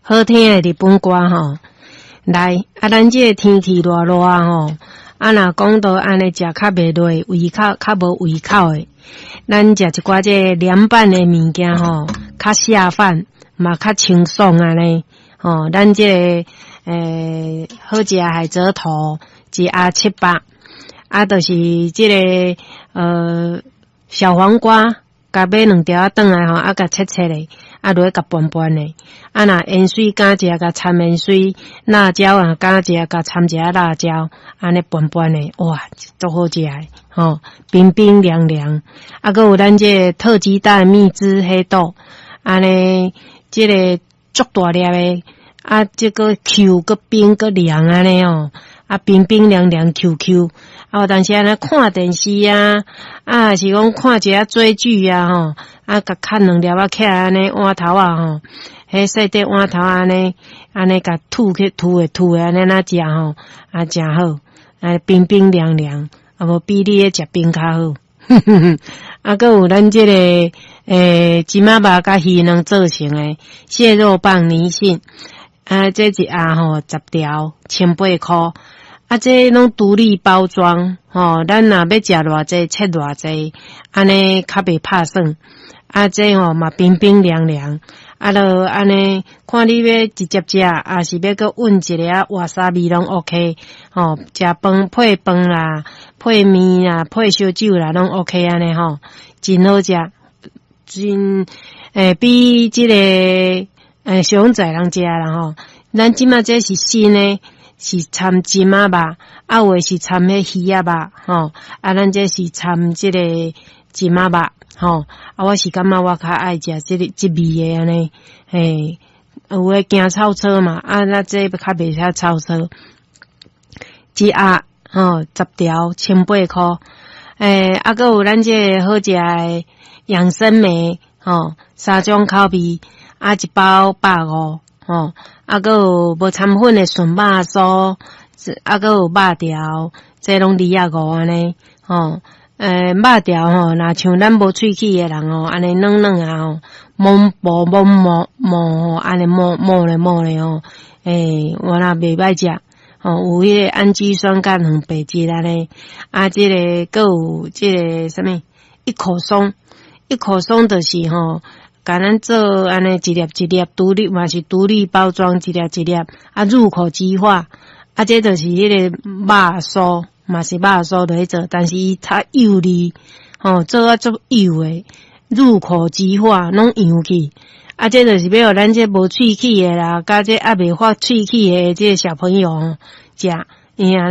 好聽的日本歌吼。來，啊，咱這个天氣熱熱吼，啊，若講到按呢食較袂落，胃口較無胃口的，咱食一寡這个涼拌的物件吼，較下飯，嘛較清爽按呢。吼，咱這个好食海蜇頭一盒700，啊，就是這个小黃瓜，共買兩條仔轉來吼，啊，共切切咧，啊，落去共拌拌咧。啊，若芫荽敢食，共摻芫荽；辣椒啊，敢食，共摻一下辣椒，按呢拌拌咧，哇，足好食的吼，冰冰涼涼。啊，閣有咱這个特級大蜜汁黑豆，按呢，這个足大粒的，啊，這个 Q 閣冰閣涼按呢哦，啊，冰冰涼涼 Q Q。啊，有當時按呢看電視啊，啊，是講看一下追劇啊，吼，啊，共崁兩粒仔起來按呢碗頭仔吼，彼細塊碗頭按呢，按呢共吐去吐的吐的按呢那食吼，啊，誠好，啊，冰冰涼涼，啊無比你咧食冰較好。啊，閣有咱這个芝麻肉佮魚卵做成的蟹肉棒泥蕈，啊，這一盒吼10條，18箍。啊，這攏獨立包裝，吼，咱若欲食偌濟，切偌濟，按呢較袂拍算。啊，這吼嘛冰冰涼涼，啊，著按呢看你欲直接食，抑是欲閣混一个仔瓦薩比攏 OK，吼，食飯配飯啦，配麵啦，配燒酒啦，攏 OK 按呢吼，真好食，真比這个小仔人食啦吼。咱這馬這是新的。是摻芝麻肉，啊有的是摻彼魚仔肉，吼，啊咱這是摻這个芝麻肉，吼，啊我是感覺我較愛食這个這味的按呢，嘿，有的驚臭臊嘛，啊咱這較袂遐臭臊。一盒吼10條，18箍，啊閣有咱這个好食的養生梅，吼，三種口味，啊一包150。吼，啊，閣有無摻粉的筍肉酥，啊，閣有肉條，這攏25按呢，吼，肉條吼，若像咱無喙齒的人吼，按呢軟軟啊吼，摸薄摸摸摸吼，按呢摸摸咧摸咧吼，我若袂歹食，吼，有彼个氨基酸佮蛋白質按呢，啊，這个閣有這个啥物一口鬆，一口鬆就是吼。共咱做按呢一粒一粒獨立嘛是獨立包裝，一粒一粒啊入口即化，啊這就是彼個肉酥嘛是肉酥落去做，但是伊較幼膩，吼做啊足幼的，入口即化攏溶去，啊這就是欲予咱這無喙齒的啦，佮這猶未發喙齒的這个小朋友食，伊啊。